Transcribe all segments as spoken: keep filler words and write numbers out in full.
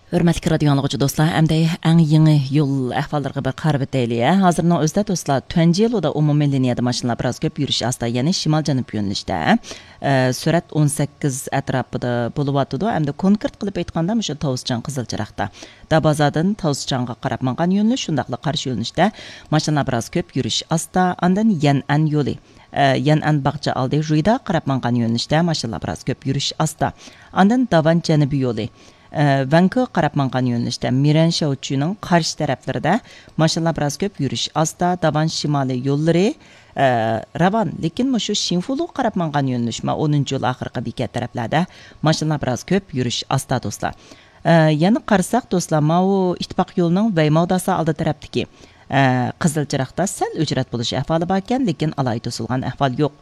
ھۆرمەتلىك رادىيو ئاڭلىغۇچى دوستلار، ئەمدى ئەڭ يېڭى يول ئەھۋاللىرىغا بىر قارىۋېتەيلى. ھازىرنىڭ ئۆزىدە دوستلار، تۇەنجيې لودا ئومۇمىي لىنىيەدە ماشىنىلار بىراز كۆپ، يۈرۈش ئاستا، يەنى شىمال جەنۇب يۆنىلىشتە. ئە، سۈرئەت ئون سەككىز ئەتراپىدا بولۇۋاتىدۇ. ئەمدى كونكرېت قىلىپ ئېيتقاندا، مۇشۇ تاۋۇزچاڭ قىزىل چىراغدا. دابازادىن تاۋۇزچاڭغا قاراپ ماڭغان يۆنىلىش، شۇنداقلا قارشى يۆنىلىشتە ماشىنىلار بىراز كۆپ، يۈرۈش ئاستا. ئاندىن يەنئەن يولى، ئە، يەنئەن باغچە ئالدى، ژۇيدا قاراپ ماڭغان يۆنىلىشتە ماشىنىلار بىراز كۆپ، يۈرۈش ئاستا. ئاندىن داۋان جەنۇبىي يولى، ئە، ۋەنكو قاراپ ماڭغان يۆنىلىشتە مىرەن شياۋچۈنىڭ قارشى تەرەپلىرىدە ماشىنىلار بىراز كۆپ، يۈرۈش ئاستا. داۋان شىمالىي يوللىرى، ئە، راۋان، لېكىن مۇشۇ شىنفۇلۇ قاراپ ماڭغان يۆنىلىش، ما، ئونىنچى يول ئاخىرقى بېكەت تەرەپلەردە ماشىنىلار بىراز كۆپ، يۈرۈش ئاستا، دوستلار. ئە، يەنە قارىساق، دوستلار، ماۋۇ ئىتتىپاق يولىنىڭ ۋەيماۋداسا ئالدى تەرەپتىكى، ئە، قىزىل چىراغدا سەل ئۆچرەت بولۇش ئەھۋالى باركەن، لېكىن ئالاھىدە توسۇلغان ئەھۋال يوق.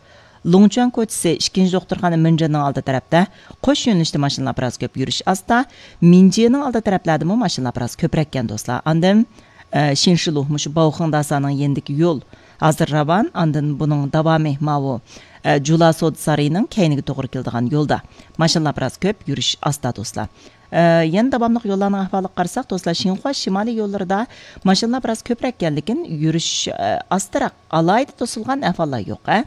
لۇڭچۈەن كوچىسى، ئىككىنچى دوختۇرخانا مىنجېنىڭ ئالدى تەرەپتە، قوش يۆنىلىشتە ماشىنىلار بىراز كۆپ، يۈرۈش ئاستا. مىنجېنىڭ ئالدى تەرەپلەردىمۇ ماشىنىلار بىراز كۆپرەككەن، دوستلار. ئاندىن، ئە، شىنشىلۇ، مۇشۇ باۋخېڭداسانىڭ يېنىدىكى يول ھازىر راۋان، ئاندىن بۇنىڭ داۋامى ماۋۇ، ئە، جۇلا سودا سارىيىنىڭ كەينىگە توغرا كېلىدىغان يولدا ماشىنىلار بىراز كۆپ، يۈرۈش ئاستا، دوستلار. ئە، يەنە داۋاملىق يوللارنىڭ ئەھۋالىغا قارىساق، دوستلار، شىنخۇا شىمالىي يوللىرىدا ماشىنىلار بىراز كۆپرەككەن، لېكىن يۈرۈش، ئە، ئاستىراق، ئالاھىدە توسۇلغان ئەھۋاللار يوق، ھە.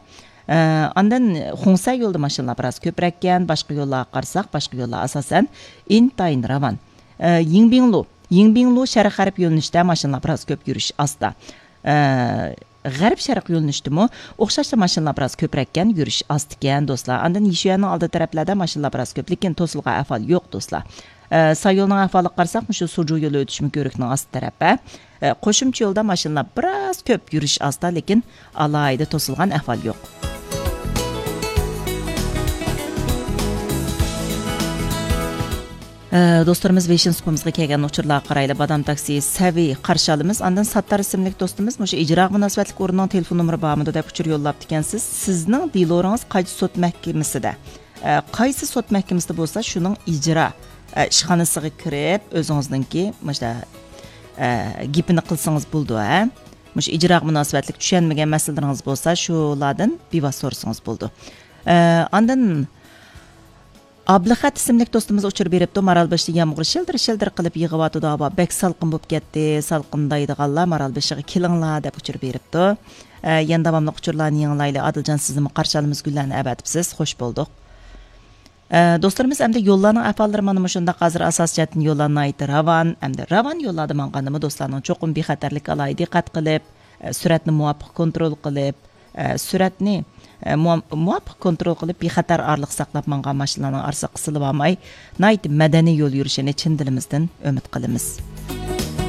ئە، ئاندىن خۇڭسەن يولىدا ماشىنىلار بىراز كۆپرەككەن، باشقا يوللارغا قارىساق، باشقا يوللار ئاساسەن ئىنتايىن راۋان. ئە، يىڭبىڭلۇ، يىڭبىڭلۇ شەرق غەرب يۆنىلىشتە ماشىنىلار بىراز كۆپ، يۈرۈش ئاستا. ئە، غەرب شەرق يۆنىلىشتىمۇ ئوخشاشلا ماشىنىلار بىراز كۆپرەككەن، يۈرۈش ئاستىكەن، دوستلار. ئاندىن يىشۈەننىڭ ئالدى تەرەپلەردە ماشىنىلار بىراز كۆپ، لېكىن توسۇلغان ئەھۋال يوق، دوستلار. ئە، ساييولنىڭ ئەھۋالىغا قارىساق، مۇشۇ سۇجۇ يولى ئۆتۈشمە كۆۋرۈكنىڭ ئاستى تەرەپ، ھە. ئە، قوشۇمچە يولدا ماشىنىلار بىراز كۆپ، يۈرۈش ئاستا، لېكىن ئالاھىدە توسۇلغان ئەھۋال يوق. ئە، دوستلىرىمىز ۋېيشىن سۇپىمىزغا كەلگەن ئۇچۇرلارغا قارايلى. بادام تاكسى سەۋى قارشى ئالىمىز. ئاندىن ساتتار ئىسىملىك دوستىمىز، مۇشۇ ئىجرا مۇناسىۋەتلىك ئورۇننىڭ تېلېفون نومۇرى بارمىدۇ دەپ ئۇچۇر يوللاپتىكەنسىز. سىزنىڭ دېلورىڭىز قايسى سوت مەھكىمىسىدە؟ ئە، قايسى سوت مەھكىمىسىدە بولسا، شۇنىڭ ئىجرا، ئە، ئىشخانىسىغا كىرىپ، ئۆزىڭىزنىڭكى مۇشۇ، ئە، گېپىنى قىلسىڭىز بولىدۇ، ھە؟ مۇشۇ ئىجراغا مۇناسىۋەتلىك چۈشەنمىگەن مەسىلىلىرىڭىز بولسا، شۇلاردىن بىۋاسىتە سورىسىڭىز بولىدۇ. ئە، ئاندىن ئابلىخەت ئىسىملىك دوستىمىز ئۇچۇر بېرىپتۇ، مارالبېشىدا يامغۇر شىلدىر-شىلدىر قىلىپ يېغىۋاتىدۇ، ھاۋا بەك سالقىن بولۇپ كەتتى، سالقىندايدىغانلار مارالبېشىغا كېلىڭلار دەپ ئۇچۇر بېرىپتۇ. ئە، يەنە داۋاملىق ئۇچۇرلارنى يېڭىلايلى. ئادىلجان، سىزنىمۇ قارشى ئالىمىز، گۈللەرنى ئەۋەتىپسىز، خوش بولدۇق. ئە، دوستلىرىمىز، ئەمدى يوللارنىڭ ئەھۋاللىرى مانا مۇشۇنداق. ھازىر ئاساسىي جەھەتتىن يوللار ناھايىتى راۋان، ئەمدى راۋان يوللاردا ماڭغاندىمۇ دوستلارنىڭ چوقۇم بىخەتەرلىككە ئالاھىدە دىققەت قىلىپ، ئە، سۈرئەتنى مۇۋاپىق كونترول قىلىپ، ئە، سۈرئەتنى، ئە، مۇۋا-، مۇۋاپىق كونترول قىلىپ، بىخەتەر ئارىلىق ساقلاپ ماڭغان ماشىنىلارنىڭ ئارىسىغا قىسىلىۋالماي، ناھايىتى مەدەنىي يول يۈرۈشىنى چىن دىلىمىزدىن ئۈمىد قىلىمىز.